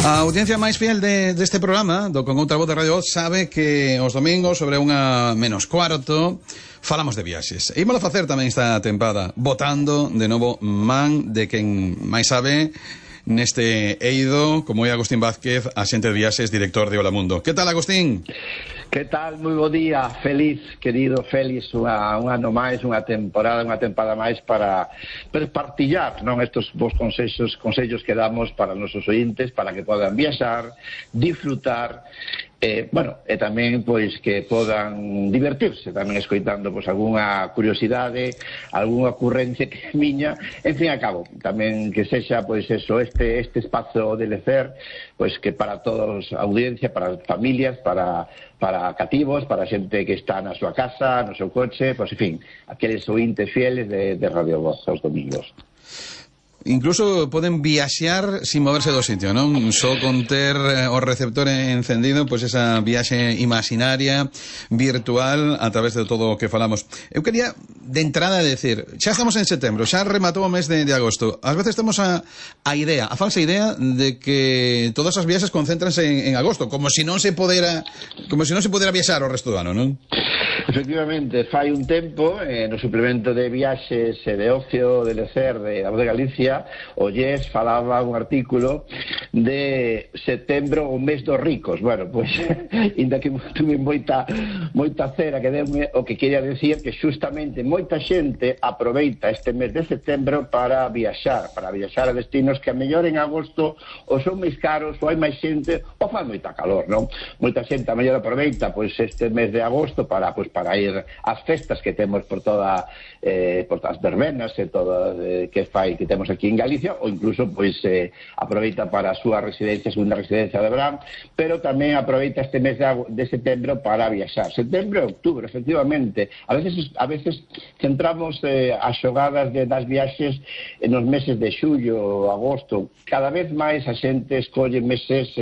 A audiencia máis fiel deste programa do Con Outra Voz de Radio Voz sabe que os domingos sobre 1:45 falamos de viaxes. E ímolo facer tamén esta tempada, votando de novo man de quen máis sabe neste eido, como é Agustín Vázquez, axente de viaxes, director de Hola Mundo. Que tal, Agustín? Que tal? Moi bo día, feliz, querido Félix, un ano máis, unha tempada máis para partillar, non, estos vos consellos que damos para os nosos ointes, para que podan viaxar, disfrutar, e tamén pois que podan divertirse tamén escoitando pois algunha curiosidade, algunha ocurrencia que miña, en fin, a cabo tamén que sexa pois eso, este espazo de lecer, pois que para todos a audiencia, para as familias, para cativos, para a xente que está na súa casa, no seu coche, pois en fin, aqueles ointes fieles de Radio Voz aos domingos. Incluso poden viaxear sin moverse do sitio, non? Só con ter o receptor encendido, pois esa viaxe imaginaria, virtual, a través de todo o que falamos. Eu quería, de entrada, decir, xa estamos en setembro, xa rematou o mes de agosto. Ás veces temos a falsa idea de que todas as viaxes concéntranse en agosto, como se non se podera viaxar o resto do ano, non? Efectivamente, fai un tempo, no suplemento de viaxes e de ocio, de lecer, de Voz de Galicia, o Yes falaba un artículo de setembro, o mes dos ricos. Bueno, pois, inda que tuve moita cera que deume, o que quería decir que xustamente moita xente aproveita este mes de setembro para viaxar a destinos que a mellor en agosto ou son máis caros, ou hai máis xente, ou fan moita calor, non? Moita xente a mellor aproveita pois este mes de agosto para ir ás festas que temos por todas as verbenas e todo que temos aquí en Galicia, ou incluso pois aproveita para a súa segunda residencia de verán, pero tamén aproveita este mes de setembro para viaxar. Setembro e outubro, efectivamente. A veces centramos as xogadas das viaxes nos meses de xullo, agosto. Cada vez máis a xente escolle meses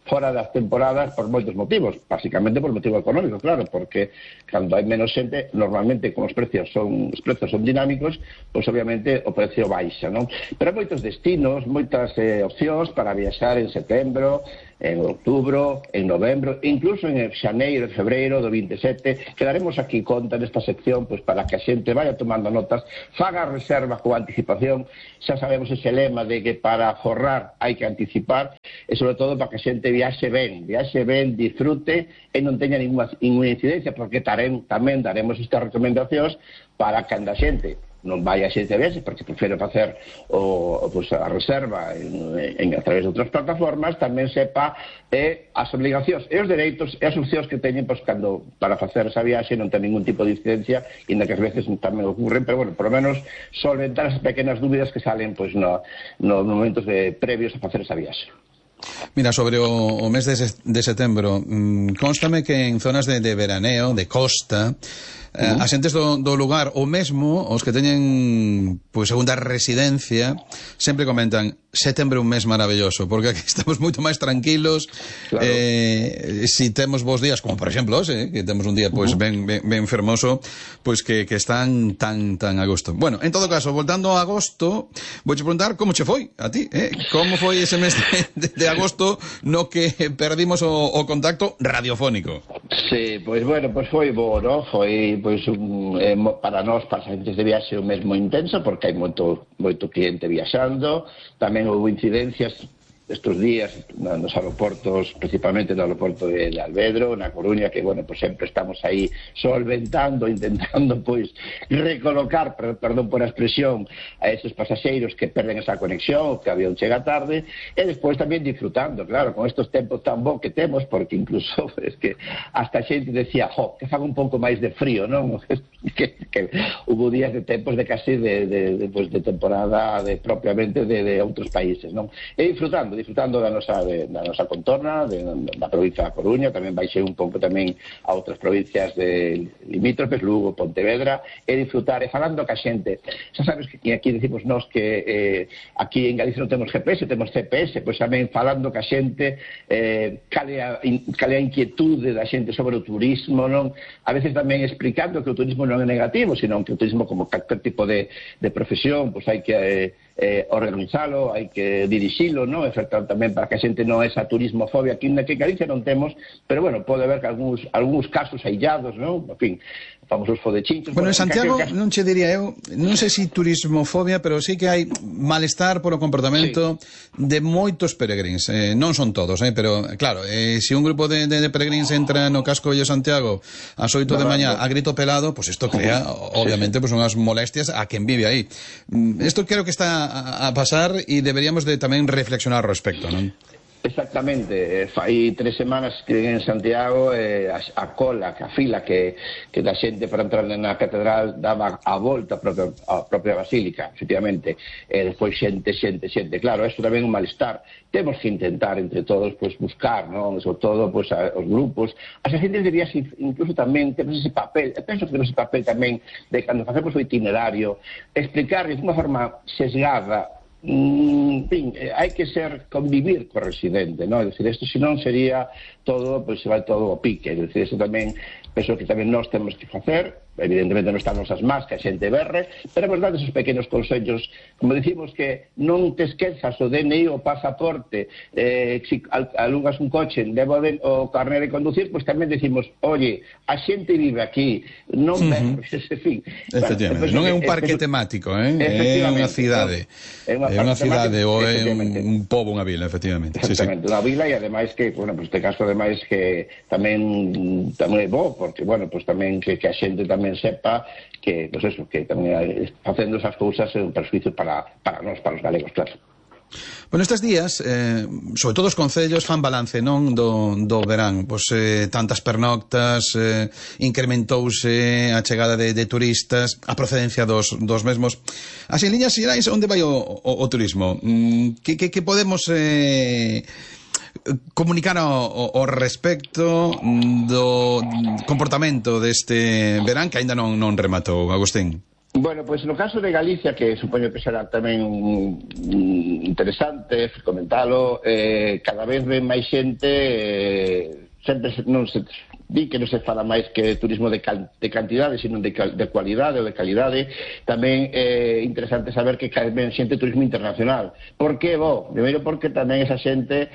fora das temporadas por moitos motivos, basicamente por motivo económico, claro, porque cando hai menos xente, normalmente como os precios son dinámicos, pois obviamente o precio baixa, non? Pero hai moitos destinos, moitas opcións para viaxar en setembro, en outubro, en novembro, incluso en xaneiro e febreiro do 27, que daremos aquí conta nesta sección pois para que a xente vaya tomando notas, faga reserva con anticipación. Xa sabemos ese lema de que para forrar hai que anticipar, e sobre todo para que a xente viaxe ben, disfrute e non teña ninguna incidencia, porque tamén daremos estas recomendacións para que a xente non vai a xente viaxe, porque prefiro facer a reserva a través de outras plataformas, tamén sepa as obligacións e os dereitos e as opcións que teñen cando para facer esa viaxe non ten ningún tipo de incidencia, inda que ás veces tamén ocurren, pero bueno, por lo menos solventar as pequenas dúbidas que salen nos momentos previos a facer esa viaxe. Mira, sobre o mes de setembro, constame que en zonas de veraneo, de costa, as xentes do lugar, ou mesmo os que teñen segunda residencia, sempre comentan setembro é un mes maravilloso, porque aquí estamos moito máis tranquilos. Claro. Si temos bons días, como por exemplo hoxe, que temos un día ben fermoso, pois que están tan a gusto. Bueno, en todo caso, voltando a agosto, vouche preguntar como che foi a ti, como foi ese mes de agosto no que perdimos o contacto radiofónico. Sí, pois foi bo, non? Foi para nós, para as agentes de viaxe, un mes moi intenso, porque hai moito cliente viaxando. Tamén houve incidencias estes días nos aeroportos, principalmente no aeroporto de Alvedro, na Coruña, que, sempre estamos aí solventando, intentando, recolocar, perdón por a expresión, a esos pasaxeiros que perden esa conexión, que o avión chega tarde, e despois tamén disfrutando, claro, con estes tempos tan bons que temos, porque incluso, es que hasta a xente decía, que faga un pouco máis de frío, non? que hubo días de tempos de casi de temporada propiamente de outros países, non? E disfrutando da nosa contorna, da provincia da Coruña, tamén baixei un pouco tamén a outras provincias de limítrofes, Lugo, Pontevedra, e disfrutar, e falando ca xente. Xa sabes que aquí decimos nós que aquí en Galicia non temos GPS, temos CPS, pois tamén falando ca xente, cale a inquietude da xente sobre o turismo, non? A veces tamén explicando que o turismo non é negativo, sino que o turismo como calquer tipo de profesión, pois hai que organizalo, hai que dirixilo, non? E facer tamén para que a xente non é esa turismofobia que en Galicia non temos, pero bueno, pode haber que algúns casos aillados, non? En fin, famosos fodechinchos. Bueno, en Santiago non che diría eu, non sei se turismofobia, pero sí que hai malestar polo comportamento de moitos peregrins, non son todos, pero claro, se un grupo de peregrins entra no casco de Santiago ás 8 de mañá a grito pelado, pues isto crea, obviamente, pues unhas molestias a quen vive aí. Isto creo que está a pasar e deberíamos de tamén reflexionar ao respecto, non? Exactamente, fai 3 semanas que en Santiago a cola, a fila que da xente para entrar na catedral daba a volta a propia basílica, efectivamente, e despois xente, claro, isto tamén é un malestar. Temos que intentar entre todos pues buscar, non? Sobre todo pues os grupos, as xentes deberías incluso tamén temos ese papel, penso que temos ese papel tamén de cando facemos o itinerario, explicarles de unha forma sesgada. En fin, hai que convivir co residente, non? É dicir, isto senón sería todo, pois se vai todo ao pique, é dicir, isto tamén penso que tamén nós temos que facer, evidentemente non están nosas más que a xente berre, pero é verdade esos pequenos consellos, como dicimos que non te esquezas o DNI o pasaporte, se alugas un coche, levo o carné de conducir, pois tamén decimos, oye, a xente vive aquí, non berres, en fin. Efectivamente, non é un parque temático, é unha cidade. É unha cidade ou é un pobo, unha vila, efectivamente. Exactamente, unha vila e ademais que, bueno, pues este caso ademais que tamén é bo, porque, bueno, pues tamén que a xente tamén sepa que, pues eso, que tamén facendo esas cousas é un perjuicio para nós, para os galegos, claro. Bueno, estes días, sobre todo os concellos fan balance, non, do verán, pois tantas pernoctas, incrementouse a chegada de turistas, a procedencia dos mesmos. Así, en liñas xerais, onde vai o turismo? Que podemos comunicar ao respecto do comportamento deste verán que aínda non rematou, Agustín? Bueno, pois no caso de Galicia, que supoño que será tamén interesante comentalo, cada vez ven máis xente, sempre non se di que non se fala máis que turismo de cantidade, sino de cualidade ou de calidade. Tamén é interesante saber que cada vez xente turismo internacional. Por que? Primeiro porque tamén esa xente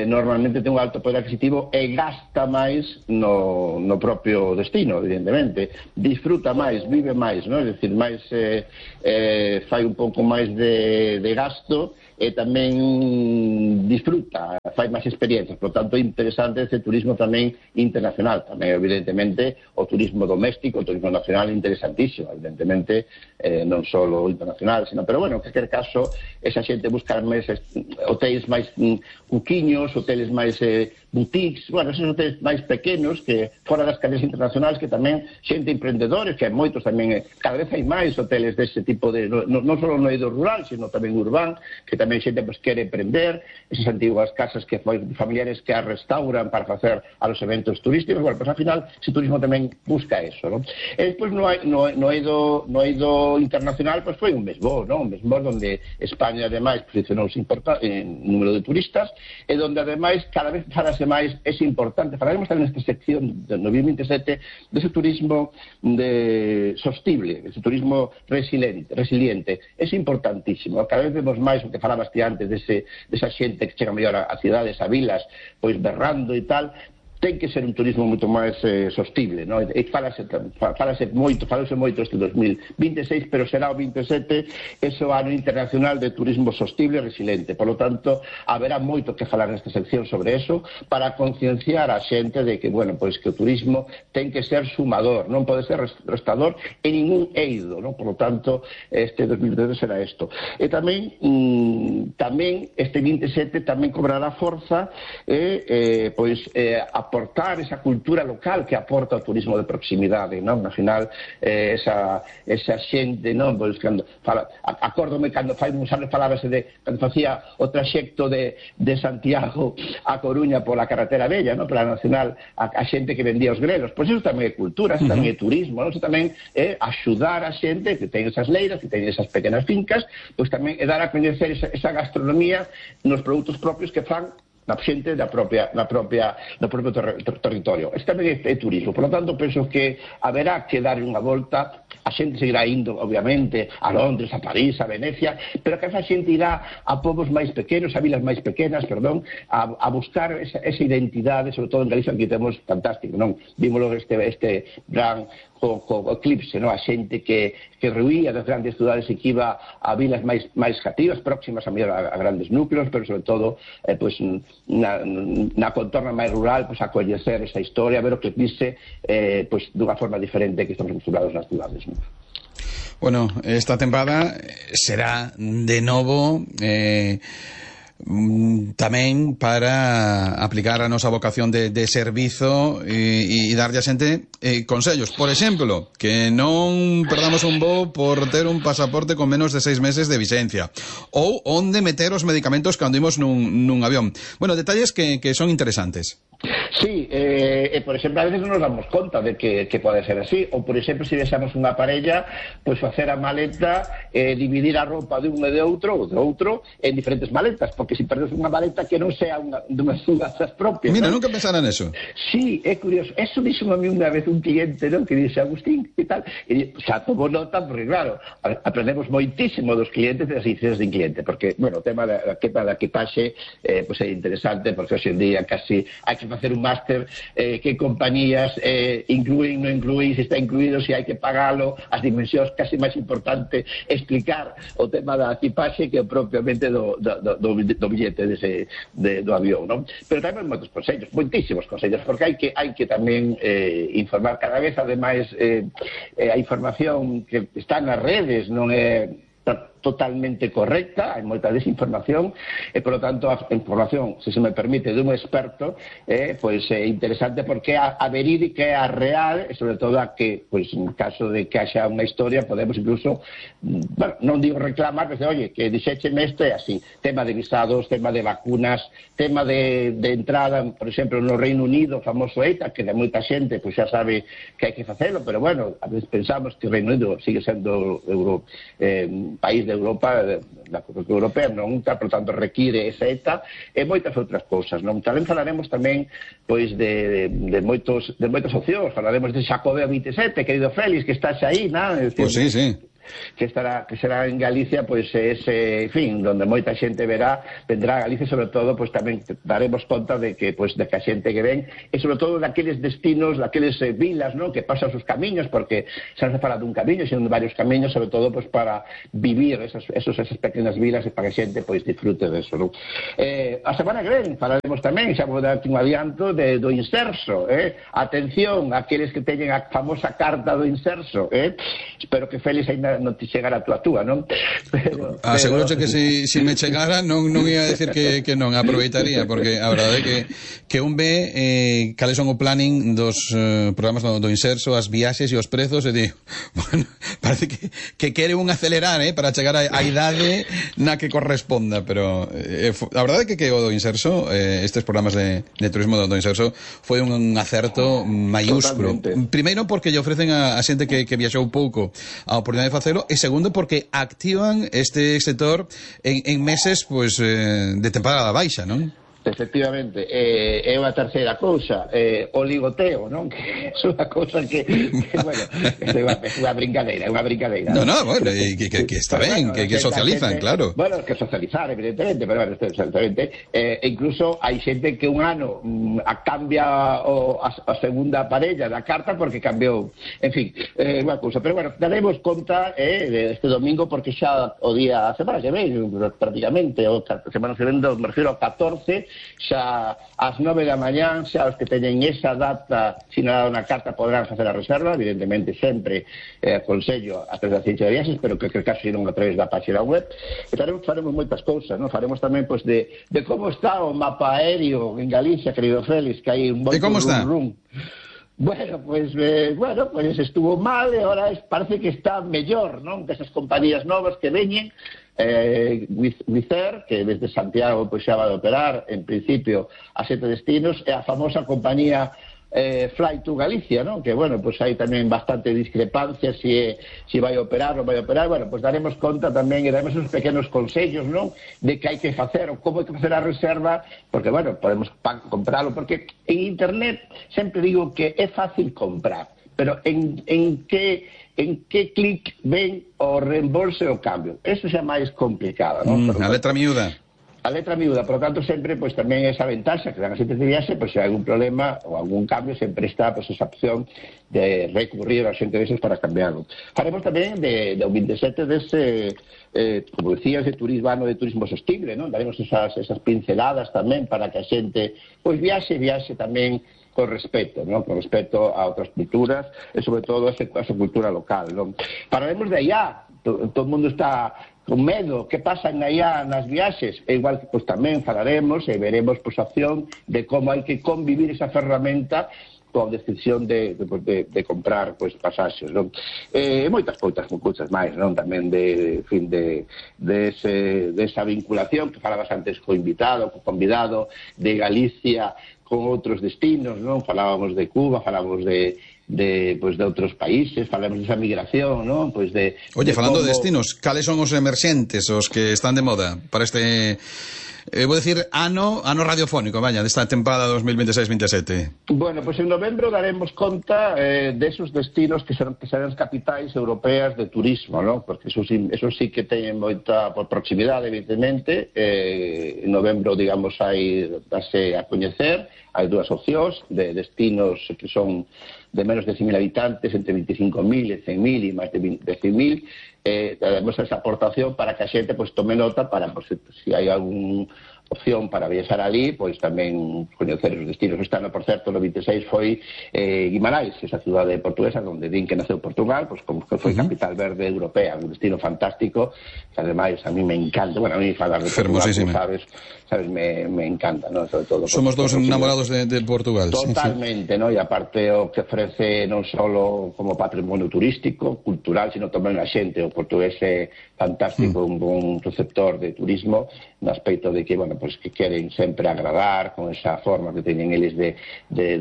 normalmente ten un alto poder adquisitivo e gasta máis no propio destino, evidentemente. Disfruta máis, vive máis, non? É dicir, máis fai un pouco máis de gasto e tamén disfruta, fai máis experiencias. Por tanto, é interesante ese turismo tamén internacional. Tamén, evidentemente, o turismo doméstico, o turismo nacional, interesantísimo. Evidentemente, non só o internacional, sino, pero bueno, en calquer caso, esa xente busca máis hotéis máis cuquiños, hoteles máis boutiques, bueno, esos hoteles máis pequenos que fora das cadenas internacionais, que tamén xente emprendedores, que hai moitos tamén, cada vez hai máis hoteles dese tipo de, non só no eido rural, sino tamén urbán, que tamén xente pues quere emprender, esas antiguas casas que familiares que as restauran para facer a los eventos turísticos. Bueno, pues al final ese turismo tamén busca eso, ¿no? E despois no eido internacional, pues foi un mes bo, ¿no? Un mes bo donde España ademais posicionouse en número de turistas e donde ademais cada vez falase máis, é importante, falaremos tamén nesta sección de 2027 dese turismo sostible, ese turismo resiliente, é importantísimo. Cada vez vemos máis o que falabas ti antes desa xente que chega mellor a cidades, a vilas, pois berrando e tal. Ten que ser un turismo moito máis sostible, non? E falase moito este 2026, pero será o 27 ese ano internacional de turismo sostible e resiliente. Por lo tanto, haberá moito que falar nesta sección sobre eso para concienciar a xente de que, bueno, pois que o turismo ten que ser sumador, non pode ser restador en ningún eido, non? Por lo tanto, este 2027 será isto. E tamén este 27 tamén cobrará forza aportar esa cultura local que aporta o turismo de proximidade, non? Ao final, esa xente, non? Pois cando acórdome cando fai uns anos falábase de cando facía o traxecto de Santiago a Coruña pola carretera bella, non? Pola nacional, a xente que vendía os grelos. Pois iso tamén é cultura, iso tamén é turismo, non? Iso tamén é axudar a xente que ten esas leiras, que ten esas pequenas fincas, pois tamén é dar a coñecer esa gastronomía nos produtos propios que fan xente do propio territorio. Este tamén é turismo, por lo tanto penso que haberá que dar unha volta. A xente seguirá indo, obviamente, a Londres, a París, a Venecia, pero que esa xente irá a povos máis pequenos, a vilas máis pequenas, perdón, a buscar esa identidade, sobre todo en Galicia, que temos fantástico, non? Vímolo este gran eclipse, non? A xente que rehuía das grandes cidades e que iba a vilas máis cativas, próximas a grandes núcleos, pero sobre todo na contorna máis rural, a coñecer esa historia, a ver o que dice dunha forma diferente que estamos acostumbrados nas cidades, non? Bueno, esta temporada será de novo tamén para aplicar a nosa vocación de servizo e darlle a xente consellos. Por exemplo, que non perdamos un voo por ter un pasaporte con menos de 6 meses de vigencia, ou onde meter os medicamentos cando imos nun avión. Bueno, detalles que son interesantes. Sí, por exemplo, a veces non nos damos conta de que pode ser así, ou por exemplo, se deixamos unha parella, pois facer a maleta, dividir a roupa de un e de outro, ou de outro, en diferentes maletas, porque se perdes unha maleta que non sea dunhas das propias. Mira, ¿no? nunca pensara neso. Sí, é curioso. Eso dixo a mí unha vez un cliente, ¿no? Que dixe, Agustín, que tal? E xa tomo nota, porque claro, aprendemos moitísimo dos clientes e das incidencias de cliente, porque, bueno, o tema da equipaxe pois é interesante, porque hoxe en día casi hai que facer un máster que compañías inclúen, non inclúen, se está incluído, se hai que pagalo, as dimensións, casi máis importante explicar o tema da equipaxe que propiamente do billete do avión, non? Pero tamén moitos consellos, moitísimos consellos, porque hai que tamén informar cada vez, ademais a información que está nas redes non é totalmente correcta, hai moita desinformación e, por lo tanto, a información, se me permite, dun experto pois é interesante porque a verídica é a real e, sobre todo, a que, pois, en caso de que haxa unha historia, podemos incluso, bueno, non digo reclamar, pero, oye, que dixécheme isto é así, tema de visados, tema de vacunas, tema de entrada, por exemplo, no Reino Unido, o famoso ETA, que de moita xente, pois xa sabe que hai que facelo, pero, bueno, a veces pensamos que o Reino Unido sigue sendo país de Europa, da Unión Europea, non, por tanto require esa ETA e moitas outras cousas, non? Tamén falaremos tamén pois de moitas opcións, falaremos de Xacobeo 27, querido Félix, que estás aí, non? Pois sí, sí. Que será en Galicia, pois ese, en fin, donde moita xente vendrá a Galicia, sobre todo, pois tamén daremos conta de que a xente que ven, e sobre todo daqueles destinos, daqueles vilas, non, que pasan os camiños, porque se nos fala dun camiño, sino de varios camiños, sobre todo, pois para vivir esas pequenas vilas e para que a xente, pois, disfrute deso, non? A semana que ven falaremos tamén, xa vou dar un adianto do inserso, atención, aqueles que teñen a famosa carta do inserso, espero que Félix ainda non te chegara a túa, non? Asegúroche que se me chegara non ia decir que non, aproveitaría, porque a verdade é que un ve cales son o planning dos programas do inserso, as viaxes e os prezos, e digo, bueno, parece que quere un acelerar, para chegar á idade na que corresponda, pero a verdade é que o do inserso, estes programas de turismo do inserso, foi un acerto maiúsculo. Primeiro porque lle ofrecen a xente que viaxou pouco a oportunidade de facelo, e segundo porque activan este sector en meses pois de temporada baixa, non? Efectivamente, é unha terceira cousa, o ligoteo, non? Que é unha cousa que bueno, é unha brincadeira, No, bueno, que está ben, que socializan, claro. Bueno, que socializar, evidentemente, pero bueno, exactamente, incluso hai xente que un ano cambia a segunda parella da carta porque cambiou, en fin, unha cousa, pero bueno, daremos conta este domingo, porque xa o día, a semana que ven, prácticamente, a semana que ven, me refiro ao 14, xa ás 9 da mañán, xa os que teñen esa data sinalada na carta podrán facer a reserva, evidentemente sempre aconsello a través da ciencia de viaxes, pero que caso irán a través da página web, e faremos moitas cousas, non? Faremos tamén pois de como está o mapa aéreo en Galicia, querido Félix, que hai un moito rum. Bueno, pues estuvo mal e ahora parece que está mellor, non? Desas compañías novas que veñen, Wizz Air, que desde Santiago pois xa vai operar en principio a 7 destinos, e a famosa compañía Fly to Galicia, ¿no? Que, bueno, pues hai tamén bastante discrepancia si vai operar ou vai operar. Bueno, pues daremos conta tamén e daremos uns pequenos consellos, ¿no? De que hai que facer ou como hai que facer a reserva, porque, bueno, podemos comprarlo, porque en internet sempre digo que é fácil comprar, pero en que clic ven o reembolso e o cambio. Eso xa máis complicado, ¿no? A letra miúda. A letra miúda, por lo tanto, sempre pues, tamén esa ventaxa que dan as xentes de viaxe, pues, se hai algún problema ou algún cambio, sempre está pues, esa opción de recurrir a xente deses para cambiarlo. Faremos tamén do 27 dese, como decías, de turismo, ano de turismo sostible, ¿no? Daremos esas pinceladas tamén para que a xente pues, viaxe tamén con respeto, ¿no? Con respeto a outras culturas e sobre todo a esa cultura local, ¿no? Falaremos de allá, todo o mundo está con medo, que pasan allá nas viaxes, e igual que pues, tamén falaremos e veremos pues, a opción de como hai que convivir esa ferramenta coa decisión de comprar pues, pasaxes, non? Moitas cousas máis, non? Tamén de esa vinculación que falabas antes co invitado, co convidado de Galicia con outros destinos, non? Falábamos de Cuba, falábamos de outros países, falamos desa migración, ¿no? Pues Oye, falando de destinos, cales son os emerxentes, os que están de moda para este, vou decir, ano radiofónico, vaya, desta tempada 2026-27? Bueno, pues en novembro daremos conta de esos destinos que serán as capitais europeas de turismo, ¿no? Porque eso sí que teñen moita por proximidade, evidentemente. En novembro, digamos, dase a coñecer, hai dúas opcións de destinos que son de menos de 100.000 habitantes, entre 25.000 e 100.000 e máis de 100.000, daremos esa aportación para que a xente pues, tome nota para, pues, si hai algún opción para viaxar ali, pois tamén coñecer os destinos. Este ano, por certo, no 26 foi Guimarães, esa cidade portuguesa onde din que naceu Portugal, pois como que foi capital verde europea, un destino fantástico, que ademais a mí me encanta, bueno, a mí falar de Portugal, sabes, me encanta, ¿no? Sobre todo somos dos enamorados de Portugal. Totalmente, sí. ¿No? E aparte o que ofrece non só como patrimonio turístico, cultural, sino tamén a xente, o portugués é fantástico, un bon receptor de turismo, no aspecto de que, bueno, pues que queren sempre agradar con esa forma que teñen eles de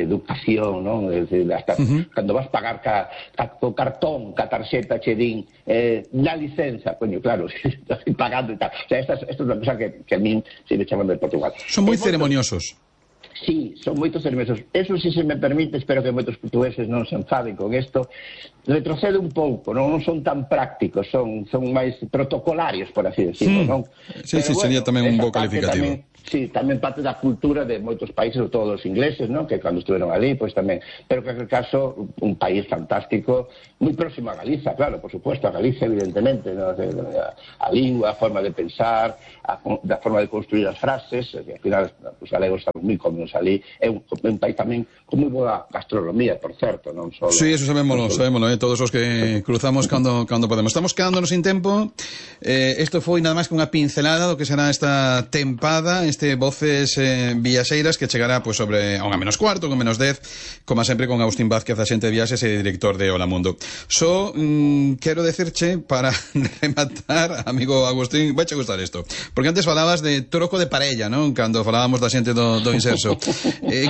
educación, ¿no? Hasta cando vas pagar co cartón, ca tarxeta che din la licenza, coño, claro, estás pagando e tal. O sea, esta é unha cosa que a mí se me chaman de Portugal. Son moi ceremoniosos. Sí, son moitos hermosos. Eso, si se me permite, espero que moitos portugueses non se enfaden con isto, retrocede un pouco, non son tan prácticos, son máis protocolarios, por así decirlo, non? Sí, bueno, sería tamén un bo calificativo. Sí, tamén parte da cultura de moitos países, sobre todo os ingleses, ¿no? Que cando estuvieron ali, pois tamén. Pero que, en aquel caso, un país fantástico, moi próximo a Galiza, claro, por supuesto, a Galicia, evidentemente, ¿no? A lingua, a forma de pensar, a forma de construir as frases, que ao final, os galegos estamos moi cómodos ali. É un país tamén con moi boa gastronomía, por certo, non só... Sí, eso sabémolo, todos os que cruzamos cando podemos. Estamos quedándonos sin tempo. Isto foi nada máis que unha pincelada do que será esta tempada, Voces Viaxeiras, que chegará pues, sobre a 1:15, 1:10, como sempre con Agustín Vázquez, axente de viaxes e director de Hola Mundo. Quero decirche, para rematar, amigo Agustín, vai che gustar isto, porque antes falabas de troco de parella, non? Cando falábamos da xente do Inserso.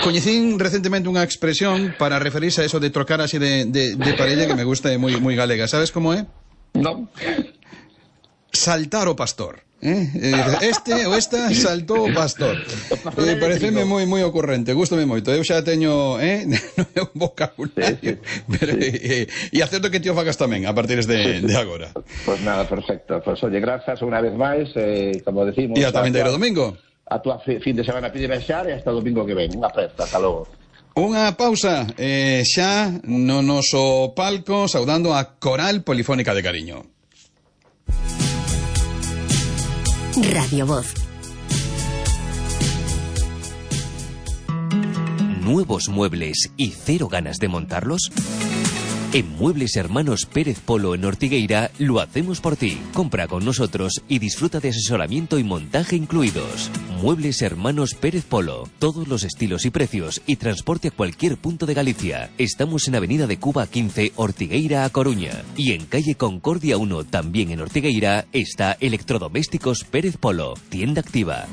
Coñecín recentemente unha expresión para referirse a eso de trocar así de parella que me gusta e moi galega. Sabes como é? Non. Saltar o pastor. Este ou esta saltou o pastor. Pareceme moi ocurrente, gústame moito. Eu xa teño un vocabulario, pero e acerto que ti o fagas tamén a partir de agora. Pues nada, perfecto. Pues oye, grazas unha vez máis, como decimos. E ata vindeiro domingo. A tua fin de semana pide baixar e hasta o domingo que ven. Unha festa, hasta logo. Unha pausa, xa no noso palco, saudando a Coral Polifónica de Cariño. Radio Voz. ¿Nuevos muebles y cero ganas de montarlos? En Muebles Hermanos Pérez Polo en Ortigueira lo hacemos por ti. Compra con nosotros y disfruta de asesoramiento y montaje incluidos. Muebles Hermanos Pérez Polo. Todos los estilos y precios y transporte a cualquier punto de Galicia. Estamos en Avenida de Cuba 15, Ortigueira a Coruña. Y en calle Concordia 1, también en Ortigueira, está Electrodomésticos Pérez Polo. Tienda activa.